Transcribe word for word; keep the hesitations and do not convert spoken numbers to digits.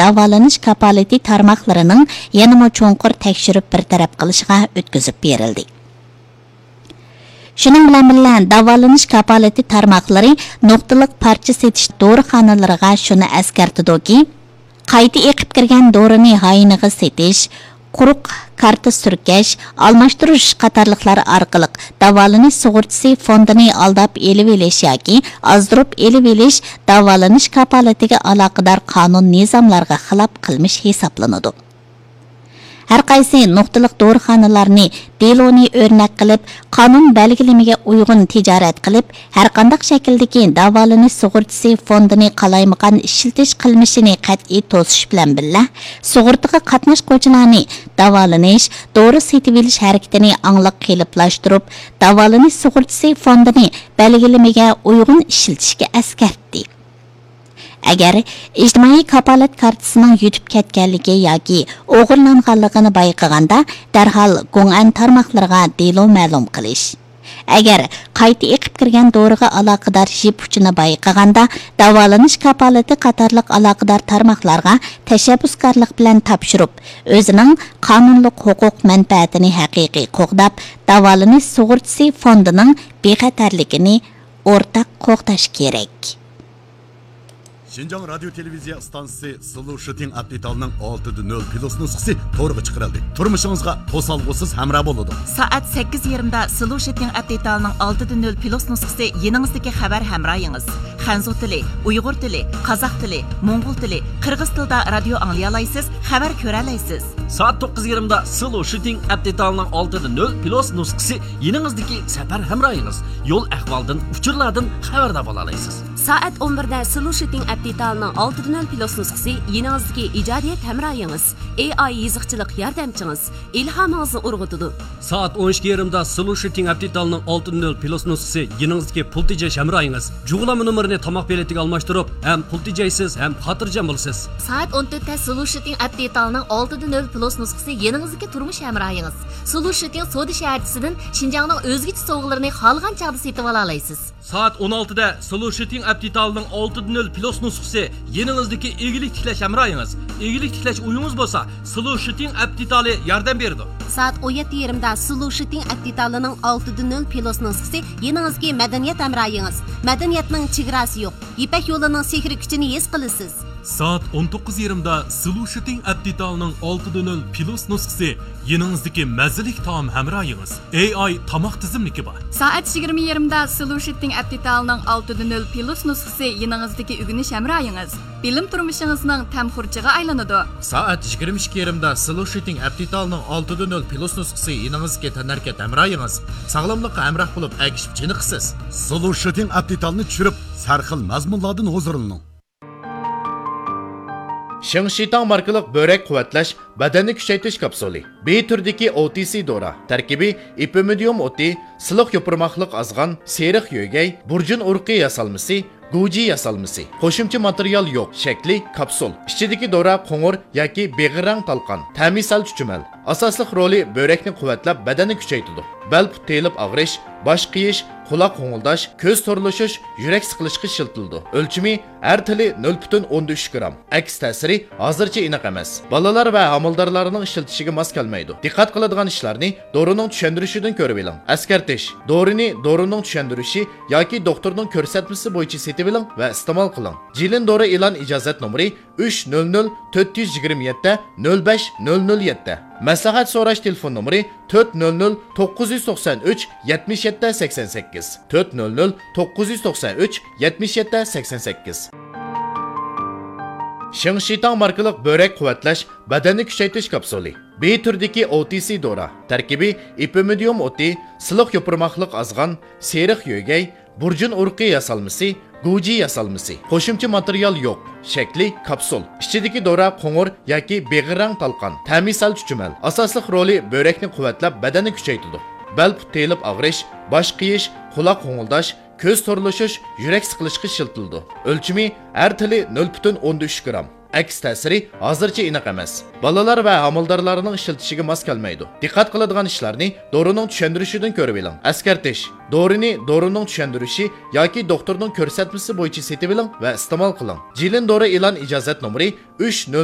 داۋالىنىش كاپالىتى تارماقلىرىنىڭ يەنىمۇ چوڭقۇر تەكشۈرۈپ بىر تەرەپ قىلىشىغا ئۆتكۈزۈپ بېرىلدى. شۇنىڭ بىلەن بىللە، داۋالىنىش كاپالىتى تارماقلىرى نۇقتىلىق پارچە سېتىش دورىخانىلىرىغا شۇنى ئەسكەرتىدۇكى، قايتا ئېقىپ كىرگەن دورىنى ھاينىغا سېتىش، قۇرۇق كارتا سۈركەش، ئالماشتۇرۇش قاتارلىقلار ئارقىلىق داۋالىنىش سۇغۇرتىسى فوندىنى ئالداپ ئېلىۋېلىش ياكى ئازدۇرۇپ ئېلىۋېلىش داۋالىنىش كاپالىتىگە ئالاقىدار قانۇن نىزاملارغا خىلاپ قىلمىش ھېسابلىنىدۇ. ھەرقايسى نۇقتىلىق دورىخانىلارنى دېلونى ئۆرنەك قىلىپ، قانۇن بەلگىلىمىگە ئۇيغۇن تىجارەت قىلىپ، ھەرقانداق شەكىلدىكى داۋالىنىش سۇغۇرتىسى فوندىنى قالايمىقان ئىشلىتىش قىلمىشىنى قەتئىي توسۇش بىلەن بىللە، سۇغۇرتىغا قاتناشقۇچىلارنى داۋالىنىش، دورا سېتىۋېلىش ھەرىكىتىنى ئاڭلىق قېلىپلاشتۇرۇپ، داۋالىنىش سۇغۇرتىسى فوندىنى بەلگىلىمىگە ئۇيغۇن ئىشلىتىشكە ئەسكەرتتى. ئەگەر ئىجتىمائىي كاپالەت كارتىسىنىڭ يۈتۈپ كەتكەنلىكى ياكى ئوغرىلانغانلىقىنى بايقىغاندا، دەرھال گوڭئەن تارماقلىرىغا دېلو مەلۇم قىلىش. ئەگەر قايتا ئېقىپ كىرگەن دورىغا ئالاقىدار يىپ ئۇچىنى بايقىغاندا، داۋالىنىش كاپالىتى قاتارلىق ئالاقىدار تارماقلارغا تەشەببۇسكارلىق بىلەن تاپشۇرۇپ، ئۆزىنىڭ قانۇنلۇق ھوقۇق مەنپەئەتىنى ھەقىقىي قوغداپ، داۋالىنىش سۇغۇرتىسى فوندىنىڭ بىخەتەرلىكىنى ئورتاق قوغداش كېرەك. شىنجاڭ رادىيو تېلېۋىزىيە ئىستانسىسى سلوشىتىڭ ئەپ دېتالىنىڭ ئالتىدە نۆل پلۇس نۇسخىسى تورغا چىقىرىلدى. تۇرمۇشىڭىزغا توسالغۇسىز ھەمراھ بولىدۇ. سائەت سەككىز يېرىمدا سلوشىتىڭ ئەپ دېتالىنىڭ ئالتىدە نۆل پلۇس نۇسخىسى يېنىڭىزدىكى خەۋەر ھەمراھىڭىز. خەنزۇ تىلى، ئۇيغۇر تىلى، قازاق تىلى، موڭغۇل تىلى، قىرغىز تىلىدا رادىيو ئاڭلىيالايسىز، خەۋەر كۆرەلەيسىز. سائەت توققۇز يېرىمدا سلوشىتىڭ ئەپ دېتالىنىڭ ئالتىدە نۆل پلۇس نۇسخىسى يېنىڭىزدىكى سەپەر ھەمراھىڭىز. يول ئەھۋالدىن، ئۇچۇرلاردىن خەۋەردار بولالايسىز. سائەت ئون بىردە سلوشىتىڭ ئەپ دېتالىنىڭ ئالتىدە نۆل پلۇس نۇسخىسى يېنىڭىزدىكى ئىجادىيەت ھەمراھىڭىز، ئېي ئاي يېزىقچىلىق ياردەمچىڭىز، ئىلھامىڭىزنى ئۇرغۇتىدۇ. سائەت ئون ئىككى يېرىمدا سلوشىتىڭ ئەپ دېتالىنىڭ ئالتىدە نۆل پلۇس نۇسخىسى يېنىڭىزدىكى پۇل تېجەش ھەمراھىڭىز. جۇغلانما نومۇرىنى تاماق بېلىتىگە ئالماشتۇرۇپ، ھەم پۇل تېجەيسىز، ھەم خاتىرجەم بولىسىز. سائەت ئون تۆتتە سلوشىتىڭ ئەپ دېتالىنىڭ ئالتىدە نۆل پلۇس نۇسخىسى يېنىڭىزدىكى تۇرمۇش ھەمراھىڭىز. سلوشىتىڭ سودا شەھەرچىسىدىن شىنجاڭنىڭ ئۆزگىچە سوۋغىلىرىنى خالىغان چاغدا سېتىۋالالايسىز. سائەت ئون ئالتىدە سلوشىتىڭ ئەپ دېتالىنىڭ ئالتىدە نۆل پلۇس نۇسخىسى يېنىڭىزدىكى ئىگىلىك تىكلەش ھەمراھىڭىز. ئىگىلىك تىكلەش ئويىڭىز بولسا، سلوشىتىڭ ئەپ دېتالى ياردەم بېرىدۇ. سائەت ئون يەتتە يېرىمدا سلوشىتىڭ ئەپ دېتالىنىڭ ئالتىدە نۆل پلۇس نۇسخىسى يېنىڭىزدىكى مەدەنىيەت ھەمراھىڭىز. مەدەنىيەتنىڭ چېگراسى يوق. يىپەك يولىنىڭ سېھرىي كۈچىنى ھېس قىلىسىز. سائەت ئون توققۇز يېرىمدا سلوشىتىڭ ئەپ دېتالىنىڭ ئالتىدە نۆل پلۇس نۇسخىسى يېنىڭىزدىكى مەززىلىك تائام ھەمراھىڭىز. ئېي ئاي تاماق تىزىملىكى بار. سائەت يىگىرمە يېرىمدا سلوشىتىڭ ئەپ دېتالىنىڭ ئالتىدە نۆل پلۇس نۇسخىسى يېنىڭىزدىكى ئۆگىنىش ھەمراھىڭىز. بىلىم تۇرمۇشىڭىزنىڭ تەم خۇرجىغا ئايلىنىدۇ. سائەت يىگىرمە ئىككى يېرىمدا سلوشىتىڭ ئەپ دېتالىنىڭ ئالتىدە نۆل پلۇس نۇسخىسى يېنىڭىزدىكى تەنھەرىكەت ھەمراھىڭىز. ساغلاملىققا ھەمراھ بولۇپ، ئەگىشىپ چېنىقىسىز. سلوشىتىڭ ئەپ دېتالنى چۈشۈرۈپ، سەرخىل مەزمۇنلاردىن ھۇزۇرلىنىڭ. شېڭشىتاڭ ماركىلىق بۆرەك قۇۋۋەتلەش، بەدەننى كۈچەيتىش كاپسۇلى. بى تۈرىدىكى ئو تى سى دورا. تەركىبى ئېپىمىدىيۇم ئوتى، سىلىق يوپۇرماقلىق ئازغان، سېرىق يۆگەي، بۇرجۇن ئۇرۇقى ياسالمىسى، گۇجى ياسالمىسى. قوشۇمچە ماتېرىيال يوق. شەكلى كاپسۇل. ئىچىدىكى دورا قوڭۇر ياكى بېغىر رەڭ تالقان. تەمى سەل چۈچۈمەل. ئاساسلىق رولى بۆرەكنى قۇۋۋەتلەپ، بەدەننى كۈچەيتىدۇ. بەل پۇت تېيىلىپ ئاغرىش، باش قېيىش، قۇلاق غوڭۇلداش، كۆز تورلىشىش، يۈرەك سىقىلىشقا ئىشلىتىلىدۇ. ئۆلچىمى ھەر تىلى نۆل پۈتۈن ئوندىن ئۈچ گرام. ئەكس تەسىرى ھازىرچە ئېنىق ئەمەس. بالىلار ۋە ھامىلىدارلارنىڭ ئىشلىتىشىگە ماس كەلمەيدۇ. دىققەت قىلىدىغان ئىشلارنى: دورىنىڭ چۈشەندۈرۈشىدىن كۆرۈۋېلىڭ. ئەسكەرتىش: دورىنى دورىنىڭ چۈشەندۈرۈشى ياكى دوختۇرنىڭ كۆرسەتمىسى بويىچە سېتىۋېلىڭ ۋە ئىستېمال قىلىڭ. جىلىن دورا ئېلان ئىجازەت نومۇرى ئۈچ نۆل نۆل تۆت يۈز يىگىرمە يەتتە نۆل بەش نۆل نۆل يەتتە. مەسلىھەت سوراش تېلېفون نومۇرى تۆت نۆل نۆل توققۇز يۈز توقسان ئۈچ يەتمىش يەتتە سەكسەن سەككىز، تۆت نۆل نۆل توققۇز يۈز توقسان ئۈچ يەتمىش يەتتە سەكسەن سەككىز. شېڭشىتاڭ ماركىلىق بۆرەك قۇۋۋەتلەش، بەدەننى كۈچەيتىش كاپسۇلى. بى تۈرىدىكى ئو تى سى دورا. تەركىبى ئېپىمىدىيۇم ئوتى، سىلىق يوپۇرماقلىق ئازغان، سېرىق يۆگەي، بۇرجۇن ئۇرۇقى ياسالمىسى، گۇجى ياسالمىسى. قوشۇمچە ماتېرىيال يوق. شەكلى كاپسۇل. ئىچىدىكى دورا قوڭۇر ياكى بېغىر رەڭ تالقان. تەمى سەل چۈچۈمەل. ئاساسلىق رولى بۆرەكنى قۇۋۋەتلەپ، بەدەننى كۈچەيتىدۇ. بەل پۇت تېيىلىپ ئاغرىش، باش قېيىش، قۇلاق غوڭۇلداش، كۆز تورلىشىش، يۈرەك سىقىلىشقا ئىشلىتىلىدۇ. ئۆلچىمى ھەر تىلى نۆل پۈتۈن ئوندىن ئۈچ گرام. ئەكس تەسىرى ھازىرچە ئېنىق ئەمەس. بالىلار ۋە ھامىلىدارلارنىڭ ئىشلىتىشىگە ماس كەلمەيدۇ. دىققەت قىلىدىغان ئىشلارنى دورىنىڭ چۈشەندۈرۈشىدىن كۆرۈۋېلىڭ. ئەسكەرتىش: دورىنى دورىنىڭ چۈشەندۈرۈشى ياكى دوختۇرنىڭ كۆرسەتمىسى بويىچە سېتىۋېلىڭ ۋە ئىستېمال قىلىڭ. جىلىن دورا ئېلان ئىجازەت نومۇرى ئۈچ نۆل